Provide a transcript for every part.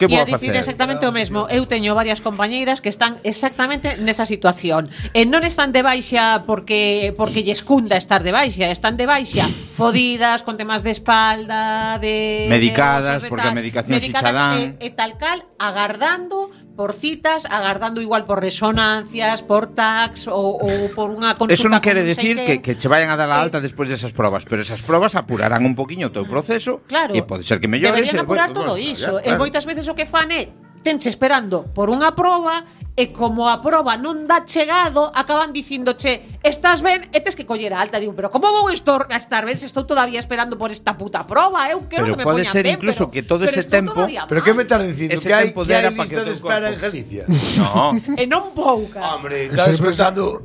Que E vou a dicir facer? exactamente o mesmo. Eu teño varias compañeiras que están exactamente nesa situación. E non están de baixa porque lles cunda estar de baixa, están de baixa fodidas, con temas de espalda, de medicadas, de porque a medicación si xa dan. e tal cal, agardando por citas, agardando igual por resonancias, por tags ou por unha consulta. Eso non quere con non sei decir que che vayan a dar a alta despois desas probas, pero esas probas apurarán un poquinho o teu proceso, claro, e pode ser que mellores. deberían apurar bueno, todo iso. claro. E moitas veces o que fan é tenche esperando por unha proba e como a proba non dá chegado, acaban dicíndoche, estás ben e tes que coller a alta. Digo, pero como vou estar ben se estou todavía esperando por esta puta proba? Eu quero Pero que me pode poñan ser ben, incluso que todo ese estou tempo- todavía Pero mal. que me estás dicindo? Ese Que hai tempo que hai dera pa que lista o de teu espera corpo- en Galicia? No. E non pouca. Hombre, estás escoitando...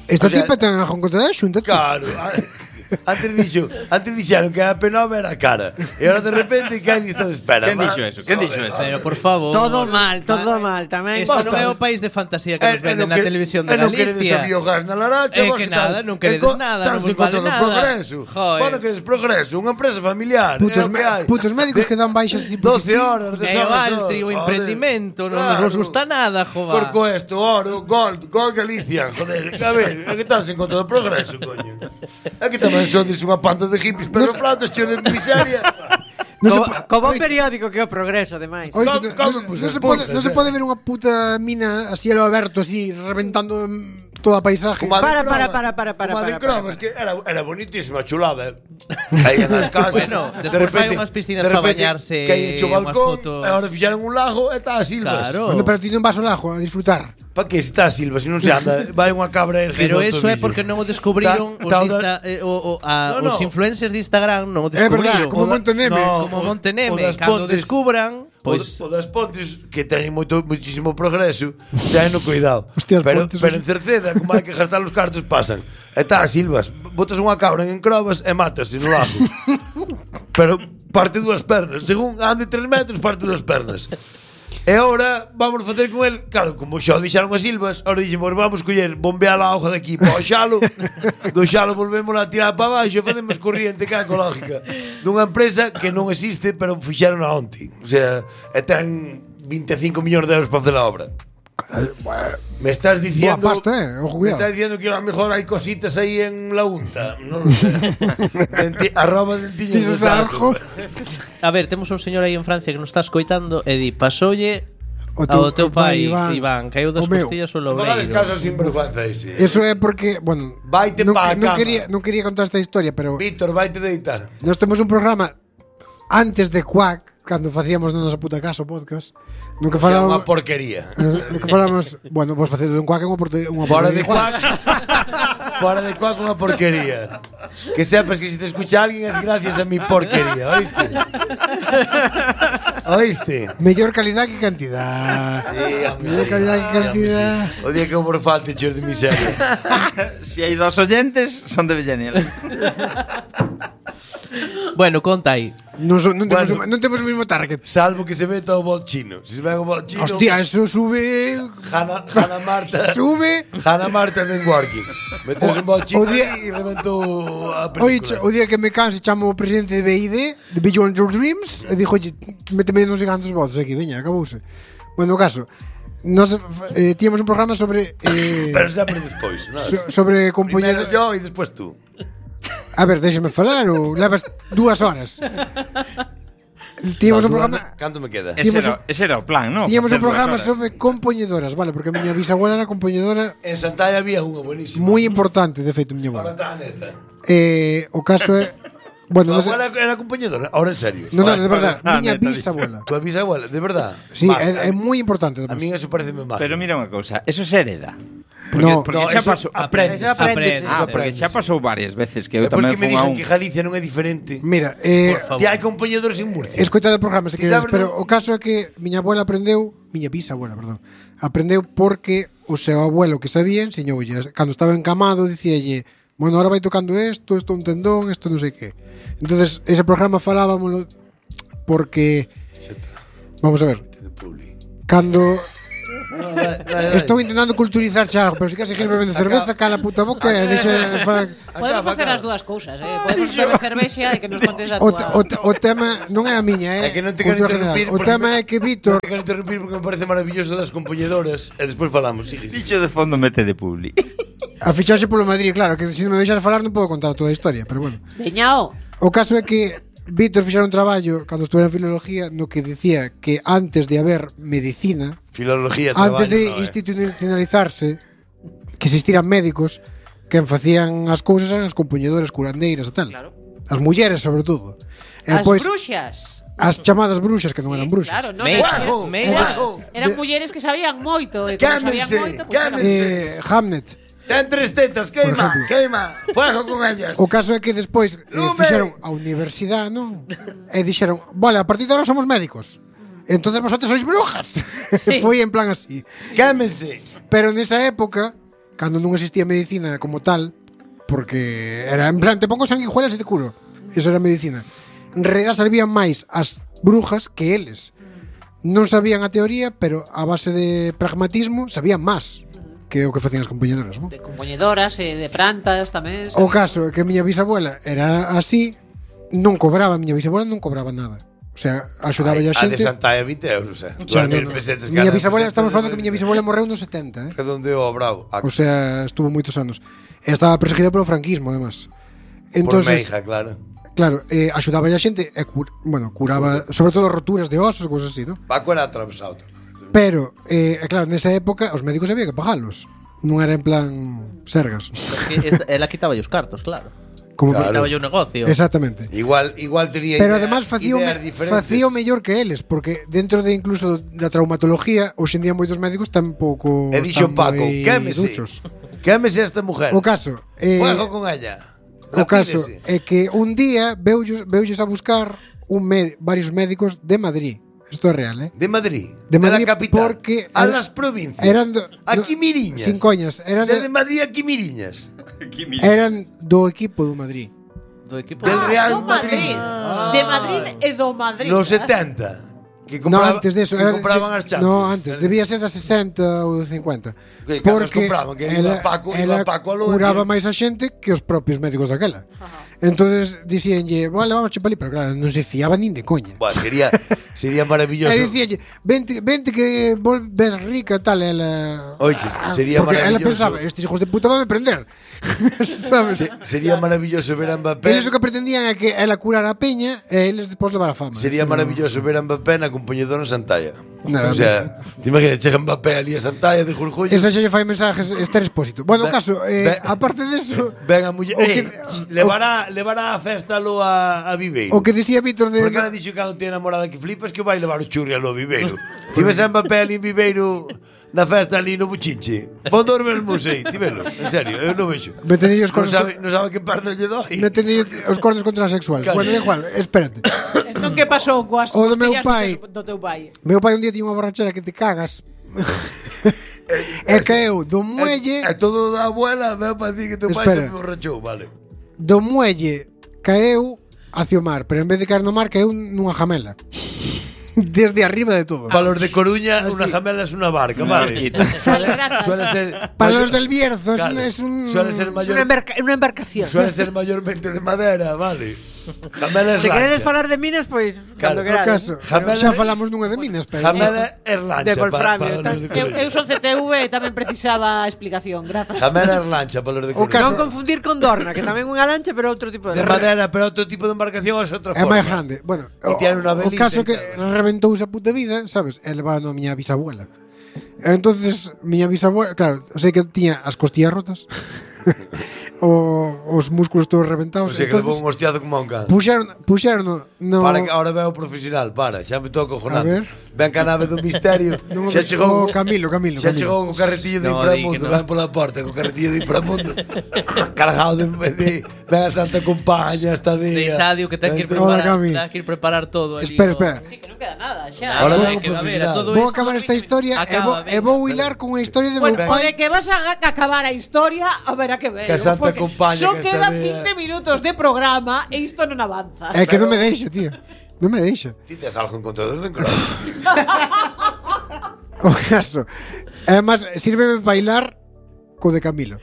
Esta O sea, tipa ten algo en contra da Xunta. Claro. Antes dixeron que a P9 era cara. E ahora de repente que hai lista de espera. Quen dixo eso? Quen dixo eso? Pero por favor. Todo mal tamén. Isto non é o país de fantasía que nos venden na televisión de non queredes a Galicia. biogás na Laracha. É que nada, non queredes nada, non vos vale nada. Progreso. Joder. Bueno, queredes progreso, unha empresa familiar. Putos médicos que dan baixas así porque 12 sí. horas de É o Altri, o emprendimento, non nos gusta nada, joder. Corco esto, oro, gol Galicia, joder, a ver, é que estás en contra do progreso, coño. É que tamén sodes unha panda de hippies, pero platos cheos de miseria. Como un periódico que é o Progreso, ademais. Oye, ¿Cómo, pues, expulsas, no se puede ver unha puta mina así a lo aberto, así, reventando toda a paisaje. Para. Como a de Crobas, que era bonitísima, chulada. Aí en as casas. Bueno, despois fai unhas piscinas para bañarse, que hai hecho unhas balcón, fotos. e agora fixaron un lago e está a Silvas. Claro. Bueno, pero ti non vas ao lago a disfrutar. Pa que se está a Silvas, se non se anda, vai unha cabra erguida. Pero eso é porque non o descubriron os influencers de Instagram, non o É verdad, descubriron. como Monteneme. Como Monteneme, cando descubran, Pois o das Pontes, que ten muchísimo progreso, ten no cuidado. Hostia, pero Pontes, en Cerceda, como hai que gastar os cartos, pasan. E está a Silvas, botas unha cabra en Crobas e matase no lago. Pero parte dúas pernas, según ande 3 metros, parte dúas pernas. E agora vamos facer con el, claro, como xa o dixaron as Silvas, agora dixemos, vamos coller, bombear a auga de aquí para o xalo, do xalo volvemos a tirar para baixo e facemos corriente que é ecológica dunha empresa que non existe, pero fixeron a onte. O sea, e ten 25 millóns de euros para facer a obra. Me estás diciendo, Boa pasta, ojo, me cuidado. estás diciendo que a lo mejor hai cositas aí en la unta, non lo sé. Arroba dentiños de sarjo. a ver, temos un señor aí en Francia que nos está escoitando e di, pasoulle O ao teu pai, Iván. Iván, caiu das O meu. costillas o Non hagas lobreiro. caso sin vergüenza ese. Eso é porque, bueno, Vaite pa cama. non quería contar esta historia, pero Víctor, vaite deitar. nós temos un programa antes de Quack, cando facíamos na nosa puta casa o podcast, no que O sea, falábamos, unha porquería. no que falábamos, bueno, vos facedes un Quack é unha Fora porquería. de cuac. Fora de cuac unha porquería. Que sepas que se te escucha alguén es gracias a mi porquería, ¿oíste? ¿Oíste? Mellor calidad que cantidad. Sí, hombre, Mellor sí, calidad que sí, cantidad. hombre, sí. O día que por falte cheos de miseria. Si hai 2 oyentes, son de Villanel. Bueno, conta aí. Non Bueno. non temos o mismo target. Salvo que se meta o bot chino. Si se ve o bot chino. Hostia, eso sube. Hannah Marta. Sube. Hannah Marta den working. Metes un bot chino O día- e reventou a Oye, película. o día que me canse chamo o presidente de BID, de Beyond Your Dreams, e dixo, oye, méteme non sei cantos votos aquí, veña, acabouse. Bueno, o caso, nos tíamos un programa sobre Pero sempre despois, ¿no? sobre Primero compañeros. yo e despois tú. A ver, déxame falar ou levas 2 horas. Tíamos un programa, Canto me queda? Ese era o plan, ¿no? tíamos un Facer programa 2 horas. sobre compoñedoras, vale, porque a miña bisabuela era compoñedora En Santalla había unha buenísima. moi importante, de feito, miña Ahora abuela. está a neta. O caso é, bueno, Tu non sei, abuela era compañedora, ahora en serio. non, de verdad, Ah, miña neta, bisabuela. Tu bisabuela, de verdad. Sí, Maja. é moi importante. A mí eso parece mágico. Pero mira unha cousa, eso se hereda. No, porque no, xa eso pasou. aprendes. Eso aprendes. Ah, porque aprendes. xa pasou varias veces que eu Depois tamén que me fun a dixen un. que Galicia non é diferente. Mira, Por favor. Ti hai compañedores en Murcia. escoitade o programa se Ti queres, sabes pero o caso é que miña abuela aprendeu, miña bisabuela, perdón, aprendeu porque o seu abuelo que sabía enseñoulle, cando estaba encamado dicíalle, bueno, ahora vai tocando isto é un tendón, isto non sei que. Entonces, ese programa falábamoslo porque Xa está. vamos a ver, De Publi. cando Estou intentando culturizar Chago, pero se queres seguir bebendo cerveza, cala a puta boca e deixa... Podemos facer as dúas cousas, podemos beber cervexa e que nos contes a túa... O tema non é a miña, É que non te quero interrumpir. O tema é que Víctor... Non te quero interrumpir porque me parece maravilloso das compoñedoras e despois falamos. Dicho de fondo mete de publi. A fichaxe polo Madrid, claro, que se non me deixar falar non podo contar toda a historia, pero bueno. Veñao. O caso é que Víctor fixera un traballo cando estuve en filología no que dicía que antes de haber medicina, Filología, antes de traballo, institucionalizarse, que existiran médicos, quen facían as cousas eran as compoñedoras, curandeiras e tal. Claro. As mulleres, sobre todo. E As pois, bruxas. as chamadas bruxas, que non eran bruxas. Claro, non Meigas. eran mulleres que sabían moito e como sabían Cámense, moito, pues eran... cámense. Hamnet. Ten 3 tetas, queima, queima. Fuego con ellas. O caso é que despois Lume. fixeron a universidade, non? E dixeron, vale, a partir de ahora somos médicos. Entonces vosotros sois brujas. Sí. Foi en plan así. Cámense. Pero nesa época, cando non existía medicina como tal, porque era en plan, te pongo sanguijuelas e te curo. Eso era medicina. En realidad servían máis as brujas que eles. Non sabían a teoría, pero a base de pragmatismo sabían máis que o que facían as compañedoras, non? De compoñedoras e de plantas tamén. O caso é que a miña bisabuela era así, non cobraba, a miña bisabuela non cobraba nada. O sea, axudaba a A de xente. Santalla 20 euros, O sea, no, no. Miña bisabuela, estamos falando que miña bisabuela morreu nos 70, Redondeo, bravo. O sea, estuvo moitos anos. E estaba perseguida polo franquismo, además. Por Entonces, Meija, claro. claro, axudaba a xente e curaba, sobre todo roturas de osos, cousas así, ¿no? Paco era atravesado. Pero, claro, nesa época os médicos había que pagalos. Non era en plan sergas. Ela quitaba os cartos, claro. Como Claro. Quitaba o negocio. Exactamente. Igual tería Pero ideas, además ideas diferentes. facía o mellor que eles, porque dentro de incluso da traumatología, hoxe en día moitos médicos tampouco E dixo están Paco, moi quémese. duchos. Quémese esta mujer. O caso, Fuego con ella. o caso Lapídese. é que un día veulles a buscar varios médicos de Madrid. Isto é real, De Madrid. De Madrid, la capital. porque a era- las provincias. eran Aquí Miriñas. Sin coñas, eran Desde Madrid aquí Miriñas. eran do equipo do Madrid. Do equipo Del Real do Madrid. De Madrid e do Madrid. Los 70. Que No, compraba, antes de eso. que compraban as Champions. No, antes. Debía ser das 60 ou dos 50. Que cando os compraban, que iba Paco a lo curaba máis a xente que os propios médicos daquela. Entonces dixíanlle, vale, vamos chupali, pero claro, non se fiaba nin de coña. Bueno, sería maravilloso. E dicíanlle, vente que volves rica tal, ela... Oye, sería porque ela maravilloso. pensaba, estes hijos de puta van a prender. Sabes? Sería maravilloso ver a Mbappé. Eles o que pretendían é que ela curara a peña e eles despois levar a fama. Sería Eso maravilloso ver a Mbappé na compañedora en Santalla. No, o sea, te imaginas, chega Mbappé ali a Santalla de Julio. Esa xa lle fai mensajes Esther Expósito. Bueno, o Ve- caso, ve- aparte deso, Ven a muller, o que- levará a festa lo a Viveiro. o que dicía Víctor de... Porque ela dixo que non tiene namorada que flipas que o vai levar o churri a lo Viveiro. Ti ves a Mbappé ali en Viveiro na festa ali no Buchiche. Fondo os mesmos aí, ti velo. En serio, eu non vexo. Metenlle os Non cornos, sabe que perna lle doi. metenlle os cornos contra a sexual. Claro. Bueno, da igual, espérate. Entón, que pasou coas O do meu costillas pai. do teu pai? Meu pai un día tiña unha borrachera que te cagas. E caeu do muelle, É todo da abuela, veo para decir que teu pai Espera. se borrachou, vale. do muelle caeu hacia o mar, pero en vez de caer no mar caeu nunha jamela. Desde arriba de todo. Para los de Coruña, Ah, una sí. jamela es una barca, vale. Suele ser. Para los del Bierzo Claro, es un... Suele ser Es mayor. una embarcación. Suele ser mayormente de madera, vale. Jamela es Se queredes lancha. falar de minas, pois Claro. cando No querades. caso, Jamela- xa falamos nunha de minas, pero... Jamela es lancha. De wolframio, para los de Coruña. Eu son CTV e tamén precisaba explicación, grazas. Jamela es lancha para los de O Coruña. Non confundir con Dorna, que tamén é unha lancha, pero outro tipo De de madera, pero otro tipo de embarcación es otra É forma. máis grande. Bueno, E tiene una o velita caso e que tal. reventouse a puta vida, sabes? E levaron a miña bisabuela. Entonces, miña bisabuela, claro, sei que tiña as costillas rotas. Os músculos todos reventados. O sea que levou Entonces, un hostiado como a un can. puxeron no... Para que ahora veo profesional, para, xa me toco A cojonando. ver. Ven ca nave do misterio. Non Xa chegou Camilo. Xa chegou co carretillo do No, inframundo, di que no. ven pola porta co carretillo do inframundo. Cargado de ven a Santa Compaña esta día. De Isadio que ten que ir Hola, preparar, Cami. ten que ir preparar todo ali. Espera. Sí, que non queda nada, xa. Ahora Ahora vengo que a ver, profesional. a todo Vou isto acabar esta historia Acaba, e vou hilar con a historia de Bueno, meu o pai. de que vas a acabar a historia, a ver a que ver. Que a Santa porque Compaña só que quedan esta 20 minutos de programa e isto non avanza. É que non me deixa, tío. Non me deixa. Ti tes algo en contra dos de Encroa. O caso Además, sírveme para bailar co de Camilo.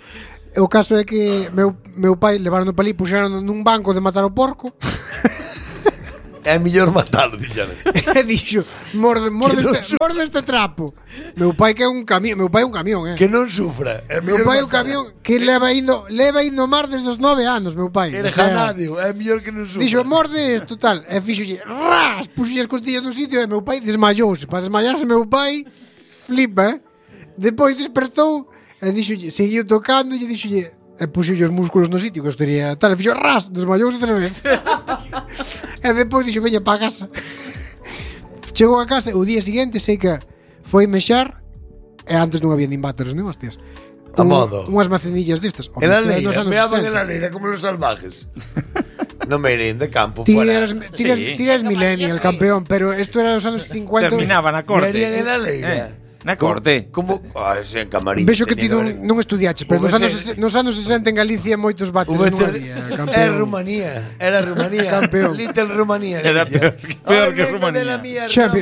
O caso é que meu pai levaron para ali, puxeron nun banco de matar o porco. É mellor matalo, dixan. E dixo, morde este trapo. Meu pai que é un camión, meu pai é un camión, Que non sufra. Meu pai é un camión que leva indo mar desde os 9 anos, meu pai. Era janadio, é mellor que non sufra. Dixo, morde isto, tal. E fixolle, ras, puxolle as costillas no sitio e meu pai desmayouse. Para desmayarse meu pai, flipa, Depois despertou e dixolle, seguiu tocando e dixolle, e puxolle os músculos no sitio, que estaría tal, e fixo ras, desmayouse outra vez. E depois dixo, veña para casa. Chegou a casa, o día seguinte sei que foi mexar, e antes non había nin váteres nin hostias. A modo. Unhas macedillas destas. En la leira, meaban en la leira como los salvajes. No me irín de campo Ti fuera. eres millennial, campeón, pero esto era dos anos 50. Terminaba na corte. Me irían en la leira. Na corte. Como en camarín. Vexo que ti non estudiaches, pero nos anos 60 en Galicia moitos váteres non había, campeón. Era Rumanía. Campeón. Little Rumanía. Era peor que Rumanía. Xavi,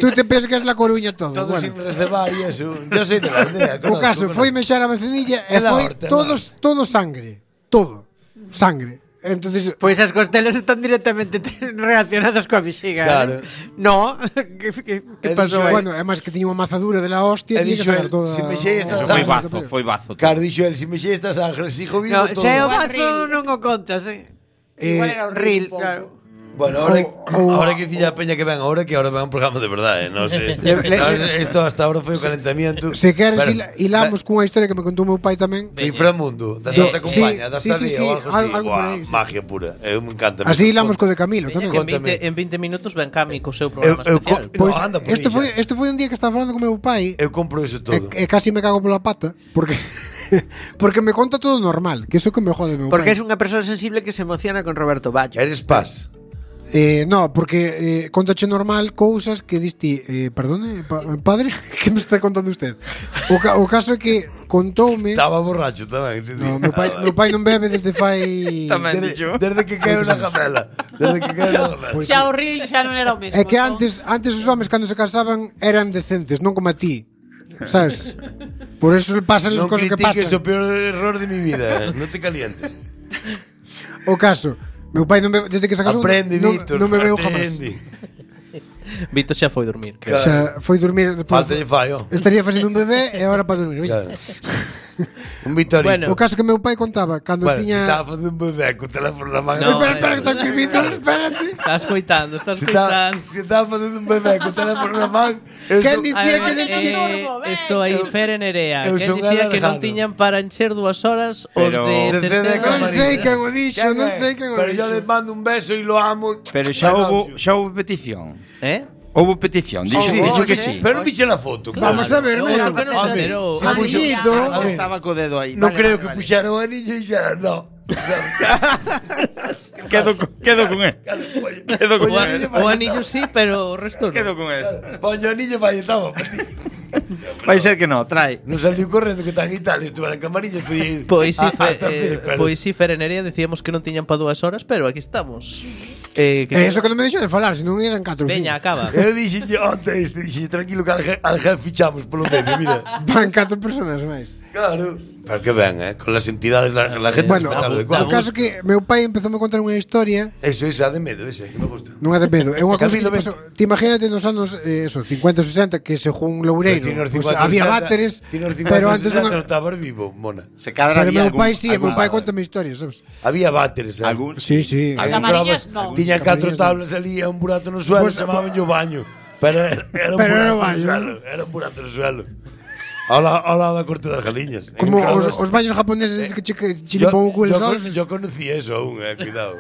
tú te pensas que es la Coruña todo. Todo bueno. sin recebar y eso. Yo soy de la aldea. O caso, foi mexar a macenilla e foi todo sangre. Todo. Sangre. Entonces, Pois as costelas están directamente relacionadas coa bexiga. Claro. No, que pasou aí? bueno, además que tiña unha mazadura de la hostia, tiña que sacar toda. Si mexei esta Foi sangre. bazo, foi bazo. Claro, dixo el, si mexei esta sangre, hijo vivo No, todo. se o bazo non o contas, Igual era un Ril, pouco. claro. Bueno, ahora que dicía a Peña que ven ahora un programa de verdade, non sei. Esto hasta ahora foi o calentamiento. Se queres hilamos cunha historia que me contou meu pai tamén. De inframundo, da Santa Compañía, da sí, estadía ou algo así. algo por aí, sí. Magia pura. Eu me encanta. Así hilamos co de Camilo tamén. En 20 minutos ven Cami co seu programa especial. Pois anda por este foi un día que estaba falando con meu pai. Eu compro eso todo. E casi me cago pola pata porque porque me conta todo normal, que iso que me jode meu Porque pai. es unha persoa sensible que se emociona con Roberto Baggio. Eres paz. No, porque contache normal cousas que diste, perdone, padre, que me está contando usted? O caso é que contoume. Estaba borracho tamén. No, meu pai non bebe desde fai. Tamén dixo. Desde que caeu na gamela. Desde que caeu na gamela. Xa o Ril xa non era o mesmo. É que antes os homes cando se casaban eran decentes, non como a ti. ¿Sabes? Por eso pasan as Non cousas que critiques pasan. o peor error de mi vida. Non te calientes. O caso, meu pai non bebe, desde que se casou Aprende, Víctor. non bebeu jamás. Vito xa foi dormir. O sea, foi dormir despois. Falta de fallo. Estaría facendo un bebé e agora para dormir. Claro. Un Vitorito. Bueno. O caso que meu pai contaba cando tiña. Estaba facendo un bebé con teléfono na mano. No, Espera, que está escribindo, espérate. Estás coitando. Se estaba facendo un bebé con teléfono na man. Quen dicía que Isto aí Fere Nerea. Eu Quen son dicía que non Alejandro. tiñan para encher 2 horas os Pero- de De CD Non Camarilla. sei quen o dixo, non sei quen o Pero yo dixo. le mando un beso y lo amo. Pero xa houve petición. Houve petición, dixo que sí. Pero non viche la foto. Vamos a ver, Pero mira. que non se enterou. Se puxo- Amiguito. Estaba co dedo aí. Non Vale, creo vale, que vale. puxaron o anillo e xa, no. Quedo con él. Quedo con él. O anillo sí, pero o resto Quedo non. con él. Poño o anillo vai, estaba. Vai ser que no, trae. Non saliu correndo que está en Italia, estuve en Camarilla e fui Pois si, hasta Filipe. pois si Fere Nerea decíamos que non tiñan para 2 horas, pero aquí estamos. Eso que non me deixou de falar, se non eran 4 Veña, acaba. Eu dixen onte tranquilo que al jefe fichamos polo medio, mira. Van 4 personas máis. Claro. Pero que ben, con las entidades, la gente Bueno, respetable. o caso que meu pai empezou a contar unha historia. Eso, a de medo, ese, que me gusta. Non é de medo, é unha cousa que Camilo, pasou. Ti imagínate nos anos 50 60 que según Loureiro pues, había váteres, pero antes non estabas vivo, mona. Se cadra Pero había meu pai sí, algún- meu pai contame historias, sabes? Había váteres, Algún Sí, sí. Camarillas, no. Tiña 4 tablas ali e un burato no suelo, Pues- chamaban yo baño. Pero era un Pero era burato no baño. suelo, era un burato no suelo. Ao lado da corte das galiñas. Como En os baños japoneses que che limpan o culo solos. Yo conocí eso aún, cuidado.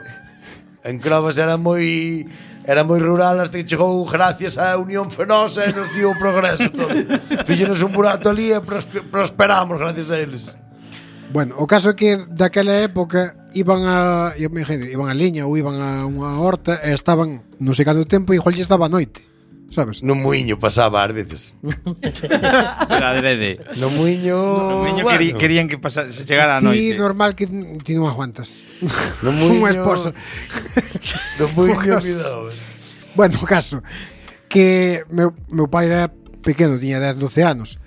En Crovas era moi rural hasta que chegou gracias á Unión Fenosa e nos dio o progreso todo. Fíxenos un burato ali e prosperamos gracias a eles. Bueno, o caso é que daquela época iban a liña ou iban a unha horta e estaban non sei canto tempo e igual lle estaba a noite, sabes? No muiño pasaba ás veces. Pero adrede. No muiño, bueno. Querían que se chegara a Ti noite. normal que ti non aguantas. No muiño. Unha esposa. No muiño, Ojas. cuidado. Bueno, o caso que meu pai era pequeno, tiña 10, 12 anos.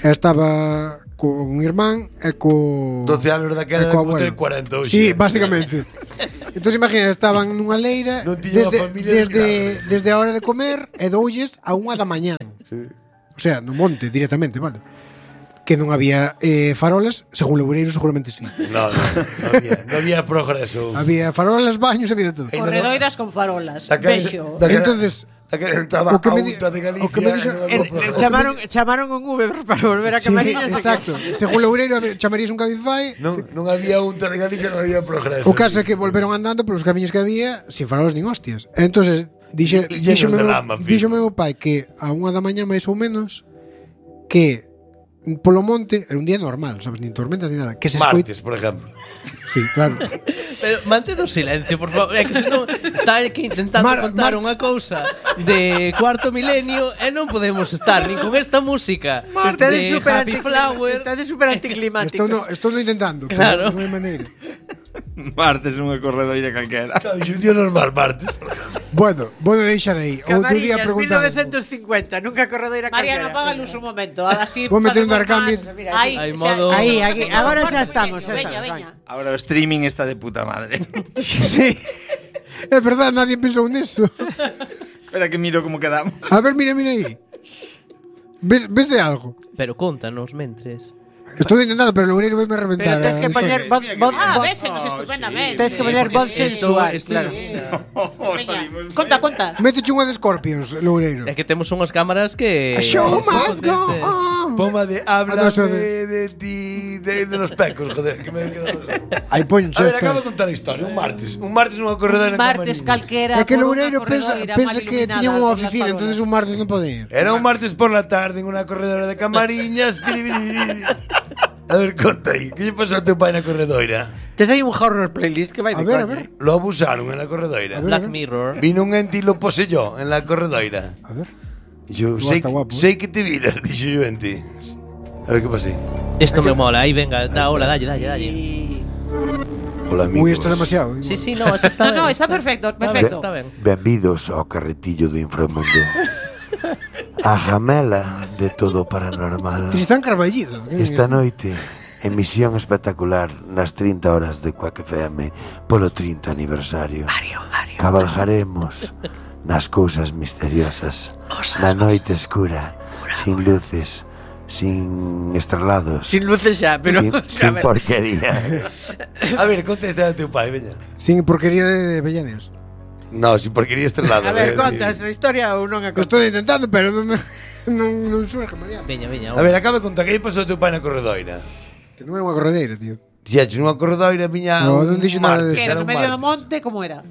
E estaba con un irmán e co 12 anos daquela e co como ter abuelo. 40 hoxe. Sí, básicamente. Entón imagina, estaban nunha leira Non tiña desde, unha familia desde a hora de comer e doulles a 1 da mañán. Sí. O sea, no monte directamente, vale. Que non había farolas, según Loureiro seguramente sí. No había progreso. Había farolas, baños, había de todo. Corredoiras con farolas. Daquela- Vexo. daquela- Entonces, daquela estaba o que a me di- UTA de Galicia. o que me dixo- e non había progreso. Chamaron un Uber para volver a sí, Camariñas. exacto. Según Loureiro, chamarías un Cabify. Non había UTA de Galicia, non había progreso. O caso é que volveron andando polos camiños que había sin farolas nin hostias. Entonces Llenos de lama, fijo. díxome meu pai que a 1 da mañá máis ou menos que polo monte era un día normal, sabes, nin tormentas ni nada, que se Martes, por exemplo. Sí, claro. Pero mantén o silencio, por favor. É que senón está aquí intentando contar unha cousa de cuarto milenio e non podemos estar nin con esta música Está de de super Happy Flower. Está de super anticlimático. Estou intentando, Claro. pero non hai maneira. Martes nunha corredoira calquera. Claro, un día normal, martes, por exemplo. Bueno, deixar aí. Outro día Camariñas, preguntar. 1950, nunca corredoira Mariano, calquera. apaga luz un momento. Así Vou meter un facemos Darkambit. máis. Aí, Hai xa- modo- xa- Aí, xa- aquí, xa- agora xa xa- estamos, xa Veña, estamos, veña. Ahora o streaming está de puta madre. Sí. É verdade, nadie pensou neso. Espera que miro como quedamos. A ver, mira aí. Vese algo? Pero contanos mentres. Estou intentando, pero Loureiro vai me reventar. Pero tens que a historia. poñer voz Ah, vésenos estupendamente. Tens que poñer voz sensual, Esto- claro. Veña, conta. Métete unha de Scorpions, Loureiro. É que temos unhas cámaras que A show must go on. Poma de habla Ah, no, eso de ti, de los pecos, joder, que me he quedado. Aí poño, A ver, acabo de contar a historia. Un martes nunha corredora en Martes Camariñas. calquera. É que por Loureiro unha pensa corredoira mal que iluminada tiña unha por las oficina, farolas. entonces un martes non pode ir. Era un martes por la tarde en unha corredora de Camariñas. A ver, conta aí. Que lle pasou ao teu pai na corredoira? Tes aí un horror playlist que vai A de ver, a coña. ver. Lo abusaron en la corredoira. Black Mirror. Vino un ente y lo poseyó en la corredoira. A ver. Y yo, Tú sei, está guapo, sei que te viras, dixo yo ente. A ver que pasei. Isto me mola. Aí venga, da hola, dalle. Hola, amigos. Ui, isto é demasiado. Sí, no, esa está No, ben. está perfecto, perfecto. Está ben. Benvidos ao carretillo do inframundo. A jamela de todo paranormal. Tristán Carballido. Esta noite, emisión espectacular nas 30 horas de Quack FM polo 30 aniversario. Cabalgaremos nas cousas misteriosas, na noite escura, sin luces, sin estrelados, Sin luces xa, pero sin porquería. A ver, contesta a teu pai, veña. Sin porquería de Bellanes. No, sin porquería estrelado. A ver, contas a historia ou non a contas? Estou intentando, pero non surge, Mariano. Veña. A ver, acaba de contar que lle pasou a teu pai na corredoira. Que non era unha corredeira, tío. Dixeches nunha corredoira viña No, un non dixo nada de martes, Que era era no un medio do martes. monte, como era?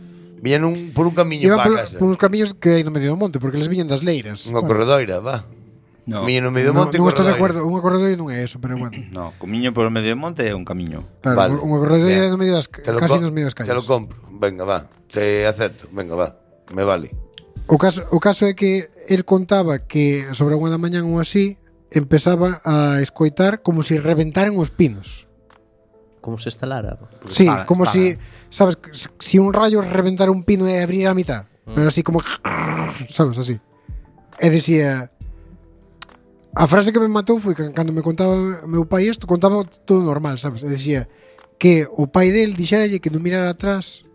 Viña por un camiño Iban para casa. por uns camiños que hai no medio do monte, porque les viñan das leiras. Unha corredoira, va. No. Viña no medio do monte non estou de corredoira. acordo, unha corredoira non é eso, pero bueno. No, comiño por o medio do monte é un camiño. Claro, Vale. unha corredoira Bien. no medio das Te lo casi co- nos medio das calles. Te lo compro. Venga, va. Te acepto. Venga, va. Me vale. O caso é que el contaba que sobre a 1 da mañán ou así empezaba a escoitar como se reventaran os pinos. Como se instalara. Sí, Espada, como espada. si, sabes, si un rayo reventara un pino e abrir a mitad, pero así como, sabes, así. E dicía, a frase que me matou foi que cando me contaba meu pai isto, contaba todo normal, sabes? E dicía que o pai del dixeralle que non mirara atrás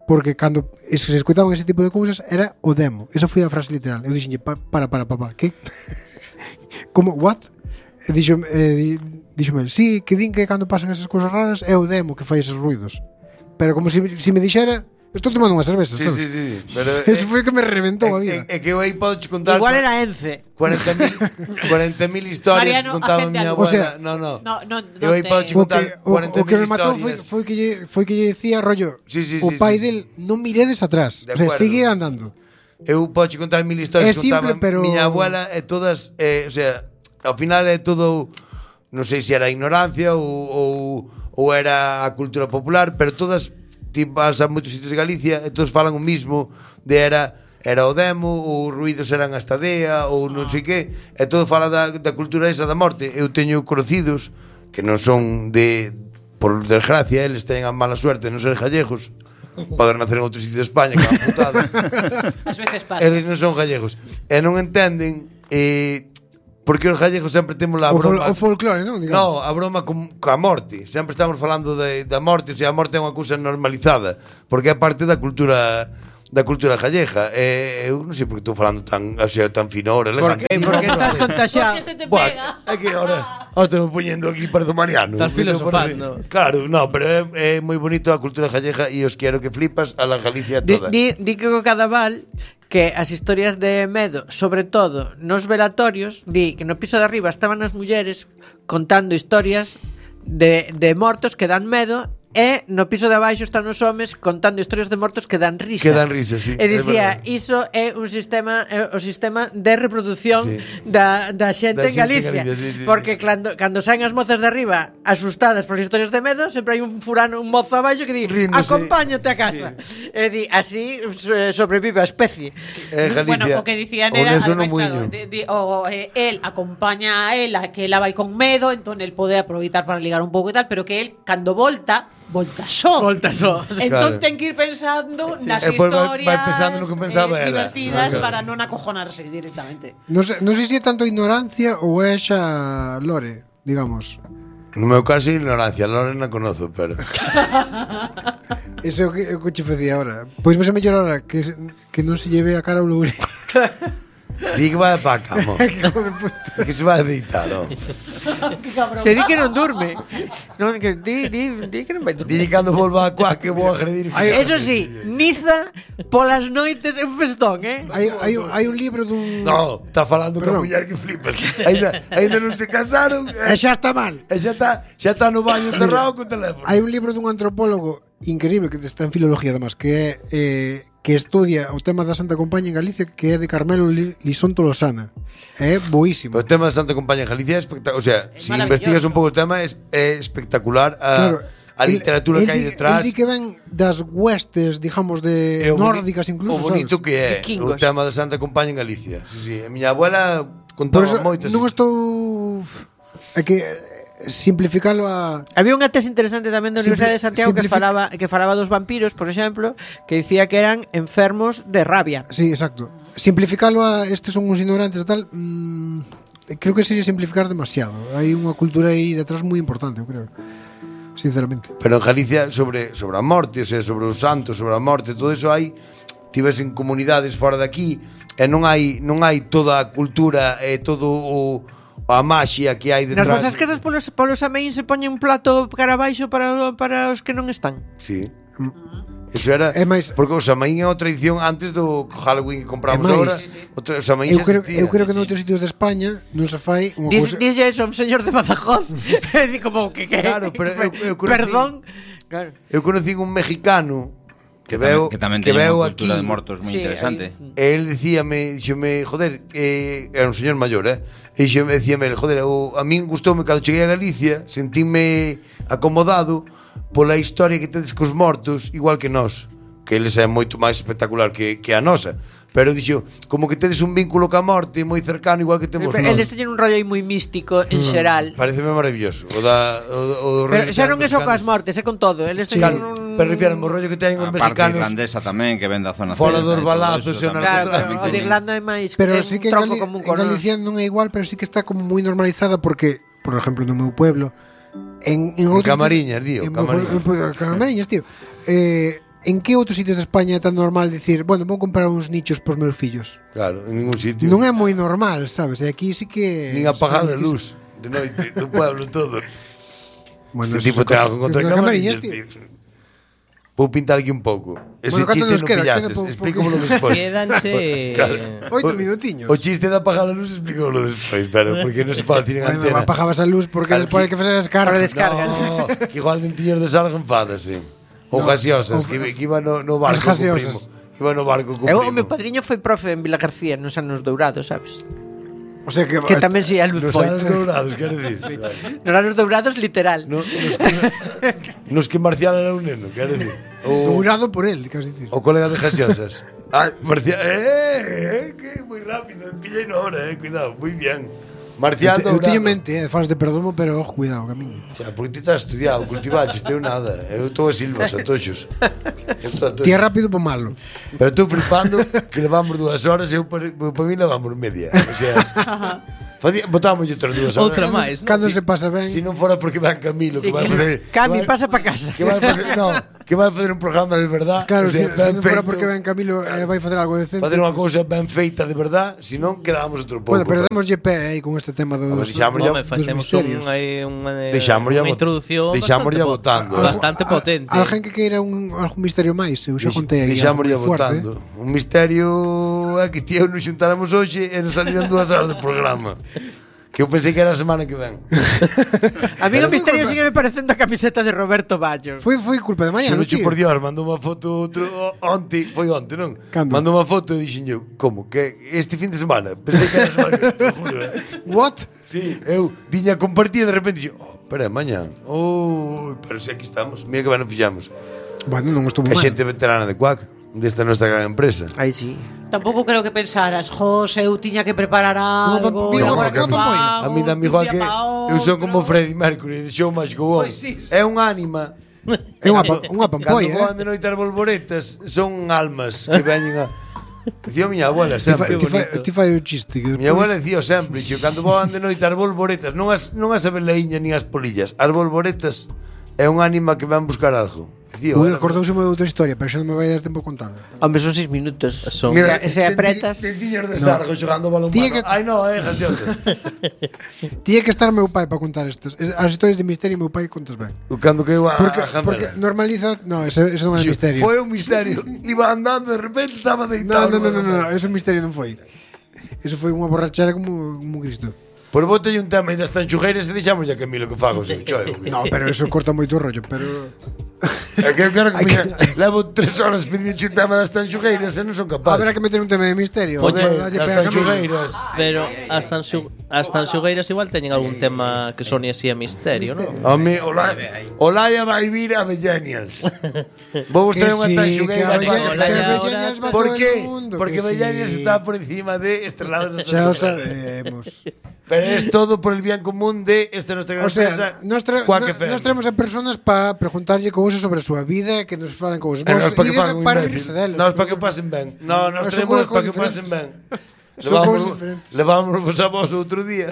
porque cando se escoitaban ese tipo de cousas era o demo. Esa foi a frase literal. Eu dixenlle, para, papá, que? Como, what? E díxome, sí, que din que cando pasan esas cousas raras é o demo que fai esos ruidos. Pero como se me dixera, estou tomando unha cerveza, sabes? Sí. Pero, Ese foi o que me reventou a vida. É que eu aí podo che contar Igual era Ence. 40.000 historias Mariano, que contaba acende miña algo. abuela. O sea, no. No Eu aí podo che O contar que, o que me matou foi, 40.000 historias. foi que lle decía, rollo, Sí, o pai sí. del non miredes atrás. De O sea, acuerdo. sigue andando. Eu podo che contar 1000 historias É que simple, contaba pero- miña abuela e todas, o sea, ao final é todo, non sei se era ignorancia ou era a cultura popular, pero todas ti vas a moitos sitios de Galicia e todos falan o mismo de era o demo, ou ruidos eran a estadea, ou non sei que, e todo fala da cultura esa da morte. Eu teño conocidos que non son por desgracia, eles teñen a mala suerte de non ser gallegos, poder nacer en outro sitio de España, que é unha putada. As veces pasa. Eles non son gallegos e non entenden Porque os gallegos sempre temos a broma. O folclore, non? No, a broma coa morte. Sempre estamos falando da morte, o sea, a morte é unha cousa normalizada, porque é parte da cultura gallega. Eu non sei por que estou falando tan fino ahora, elegante. Porque estás contagiado. Porque se te Bueno, pega. é que ahora estou poñendo aquí para do Mariano. Estás filosofando. Claro, no, pero é moi bonito a cultura gallega e os quero que flipas a la Galicia toda. Di que o Cadaval que as historias de medo, sobre todo nos velatorios, di que no piso de arriba estaban as mulleres contando historias de mortos que dan medo, e no piso de abaixo están os homes contando historias de mortos que dan risa. Que dan risa, sí. E dicía, iso é un sistema, o sistema de reproducción da xente en Galicia. Sí. Porque cando saen as mozas de arriba asustadas polas historias de medo, sempre hai un furano, un mozo abaixo que di, Ríndose. acompáñate a casa. E di, así sobrevive a especie. Galicia. Bueno, o que dicían era, Eso non además, claro, él acompaña a ela, que ela vai con medo, entón el pode aproveitar para ligar un pouco e tal, pero que él, cando volta só. Entón Claro. ten que ir pensando nas E pois historias vai pensando no que pensaba ela. divertidas Claro. para non acojonarse directamente. Non sei se é tanto ignorancia ou é xa lore, digamos. No meu caso, ignorancia. A Lorena conozo, pero... Eso é o que che facía ahora. Pois vai ser mellor ahora que non se lleve a cara o loure. Di que vai para a cama. Que se vai a deitar, no? Se di que non durme. Non, que di que non vai durmir. Di cando volva a cuá que vou agredir. Eso sí, Niza polas noites é un festón, Hai un libro dun... No, está falando con a Perdón. muller que flipas. Ainda non se casaron. E xa está mal. E xa está no baño encerrado co teléfono. Hai un libro dun antropólogo increíble que está en filología además, que é que estudia o tema da Santa Compaña en Galicia, que é de Carmelo Lisón Tolosana. É boísimo. O tema da Santa Compañía en Galicia é espectacular. O sea, É si maravilloso. investigas un pouco o tema é espectacular a literatura que hai detrás. El di que ven das huestes, digamos, E de o nórdicas incluso, o bonito sabes? que é Vikingos. o tema da Santa Compañía en Galicia. Sí. A miña abuela Por contaba eso moitas. non estou... É que simplificalo a... Había unha tese interesante tamén da Universidade de Santiago que simplifica- falaba dos vampiros, por exemplo, que dicía que eran enfermos de rabia. Sí, exacto. Simplificalo a estes son uns ignorantes e tal, creo que sería simplificar demasiado. Hai unha cultura aí detrás moi importante, eu creo. Sinceramente. Pero en Galicia sobre a morte, o sea, sobre os santos, sobre a morte, todo eso hai tivesen comunidades fora de aquí e non hai toda a cultura e todo a maxia que hai Nas detrás. vosas casas polos ameín se poñen un plato cara abaixo para os que non están. Sí. Eso era É máis- porque o Samaín é unha tradición antes do Halloween que compramos É máis- agora. O Samaín Eu xa creo existía. que noutros sitios de España non se fai unha cousa... Dixlle eso a un señor de Badajoz. Di como que Claro, pero eu conocí- perdón. Claro. Eu conocí un mexicano que veo que tamén que teñen veo unha aquí. cultura de mortos moi Sí, interesante. E el díxome, joder, era un señor maior, E decíame, joder, a min gustoume cando cheguei a Galicia, sentíme acomodado pola historia que tedes cos mortos, igual que nós, que eles é moito máis espectacular que a nosa. Pero dixo, como que tedes un vínculo ca morte moi cercano, igual que temos nós. Eles teñen un rollo aí moi místico en xeral. Pareceme maravilloso. O Pero xa non é só coas mortes, é con todo. Eles teñen Claro, un... pero refiero ao rollo que teñen os A parte mexicanos. irlandesa tamén, que ven da zona Fora celta dos e todo balazos eso e o tamén. Claro, narcotráfico. pero o de Irlanda é máis Pero é sí un que tronco común en con Galicia non é igual, pero sí que está como moi normalizada porque, por exemplo, no meu pueblo, en outros Camariñas, tío, Camariñas, tío. En que outros sitios de España é tan normal dicir, bueno, vou comprar uns nichos pros meus fillos? Claro, en ningún sitio. Non é moi normal, sabes? E aquí sí que... Nin apagar a luz de noite do pueblo todo. Bueno, Este tipo ten algo contra Camariñas, Camariñas, tío. tío. Vou pintar aquí un pouco. Ese Bueno, canto chiste nos non queda? pillastes. Queda Explícamolo despois. Quédanse... Claro. 8 minutiños. O chiste de apagar a luz explícamolo despois, pero porque non se pode decir en Bueno, antena. apagabas a luz porque Claro, despois hai que facer as cargas. No, que igual non tiñas desarga enfádase. Ou gaseosas, que iba no barco As co gaseosas. primo. Iba no barco co O primo. meu padriño foi profe en Vila García nos anos dourados, sabes? O sea que... Que tamén si a luz Nos foi. anos dourados, quero dicir. Nos anos dourados, literal. Nos que Marcial era un neno, quero dicir. Dourado por él, queres dicir. O colega de gaseosas. Marcial, que moi rápido, pillei no hora, cuidado, moi bien. Marcial Eu dourado. teño mente, falas de perdomo, pero ojo, cuidado, camiño. Xa, porque ti estás estudiado, cultivaches, teu nada. Eu estou a silvas, a toxos. Ti é rápido po malo. Pero estou flipando que levamos 2 horas e eu para mí levamos media. O sea, Botámoslle outras dúas. Outra máis. Cando se pasa ben. Si non fora porque ven Camilo, que vai facer... Cami, pasa pa casa. Que vai facer, no, que vai facer un programa de verdad. Claro, o sea, se non fora feito, porque ben Camilo vai facer algo decente. facer unha cousa ben feita de verdad, si non quedamos outro pouco. Bueno, pero démoslle pé aí con este tema dos deixámoslle- Home, facemos misterios. unha introducción deixámoslle votando. bastante potente. Alguén que queira algún misterio máis, eu xa contei aí. Deixámoslle algo moi fuerte. votando. Un misterio é que tío nos xuntáramos hoxe e nos saliran 2 horas de programa. Que eu pensei que era a semana que ven. A mí o misterio sigue me parecendo a camiseta de Roberto Baggio. Foi culpa de mañá, Xo non, noche tío? por Dios, mandou unha foto outro onte, non? Cando? Mandou unha foto e dixen eu, como que este fin de semana? Pensei que era a semana que te juro. What? Sí, eu tiña compartida de repente dixen, espera, mañá. Pero si aquí estamos, mira que ben nos fixamos. Bueno, non estuvo Que mal. xente veterana de Quack, desta nosa gran empresa. Aí sí. Tampouco creo que pensaras, José, eu tiña que preparar algo. Mira, agora que que a mí dame igual que eu son como Freddie Mercury de Show Must Go On. Pois sí, sí. É un ánima. É unha pampolla, Cando voan de noite as bolboretas, son almas que veñen a... Dicía miña abuela sempre. Ti fai o chiste que Miña abuela despois... dicía sempre, xo, cando voan de noite as bolboretas, non as abelaiñas nin as polillas, as bolboretas é un ánima que van buscar algo. Dicía, Ui, acordouseme de outra historia, pero xa non me vai dar tempo a contarla. Hombre, son 6 minutos. Son- Mira, E se apretas... Tiñas de Sargo xogando balón Tiña que- Ai, no, gaseosas. Tiña que estar meu pai para contar estas. As historias de misterio meu pai contas ben. Cando que eu a Porque normaliza... No, ese non é misterio. Foi un misterio. Iba andando, de repente estaba deitado. No, ese misterio non foi. Eso foi unha borrachera como un Cristo. Por bote un tema e das tanchugueiras e deixamos ya Camilo que fago, sí, No, pero eso corta moito o rollo, pero... É que eu quero que levo 3 horas pedindo un tema das tanchugueiras e non son capaz. Haberá que meter un tema de misterio. Joder, Dalle das pega a Camilo. tanchugueiras. Pero as tanxugueiras igual teñen algún tema que sone así a misterio, non? Home, Olaya vai vir a Bellenials. Vou vos traer unha tanxugueira. Por qué? Porque Bellenials está por encima de Estrelado de Xa o sabemos. Pero es todo por el bien común de esta nuestra gran O sea, empresa. nos Quack FM. traemos a personas para preguntarlle cousas sobre a súa vida, que nos falan cousas. E nos para que ides fagan un para imbécil. rirse delas. Nos para que pasen ben. No, nos Son traemos para cousas que pasen ben. Son cousas diferentes. Levámonos a vos outro día.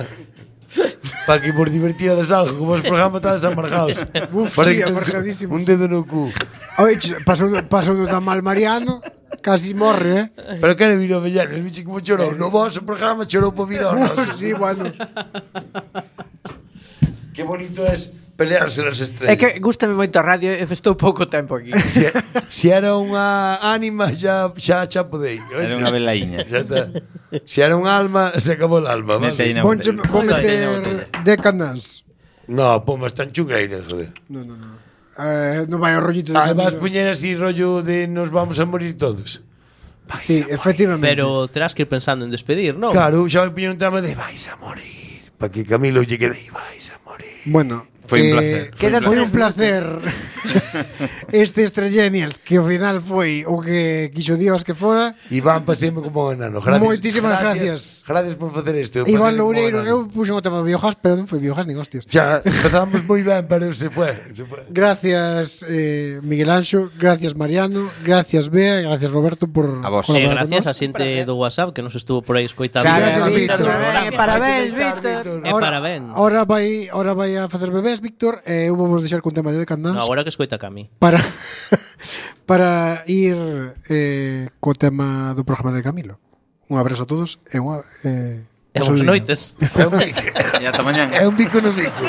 Para que vos divertirades algo, como os programas estades amargados. Uf, Para sí, que tedes amargadísimos. un dedo no cu. Oye, pasou tan mal Mariano, casi morre, Pero quere vir o Bellanes, bicho como chorou. No vosso programa chorou por vir ao noso. Sí, bueno. Que bonito es pelearse las É estrellas. que gustame moito a radio e estou pouco tempo aquí. Si era unha ánima xa podei. Era unha velaíña. Xa está. Si era un alma, se acabou el alma. ¿vale? Mete aí na Vou botella. meter Decadence. No, pomas tan chungueiras, joder. No. Non vai ao rollito de Vas Camilo. poñer así rollo de nos vamos a morir todos. Sí, efectivamente. Pero terás que ir pensando en despedir, non? Claro, xa vai poñer un tema de vais a morir. Para que Camilo lle quede vais a morir. Bueno, Foi un placer. Foi un placer este Estrellenials, que ao final foi o que quixo Dios que fora. Iván, paséme como un enano. Gracias. Moitísimas gracias. Gracias por facer isto. Iván Paséme como un Loureiro, enano. eu puxen o tema do biogas, pero non foi biogas nin hostias. Xa, empezamos moi ben, pero se fue. Gracias Miguel Anxo, gracias Mariano, gracias Bea, gracias Roberto por A vos. colaborar con Gracias nós. a xente do WhatsApp que nos estuvo por aí escoitando. Gracias, Víctor. Parabéns, Hai que Víctor. E parabéns. Ahora vai a facer bebés, Víctor, e eu vou vos deixar con tema de Decadence No, agora que escoita Cami. para ir co tema do programa de Camilo. Un abrazo a todos e unha E boas noites. É un bico. E ata mañán. É un bico no bico.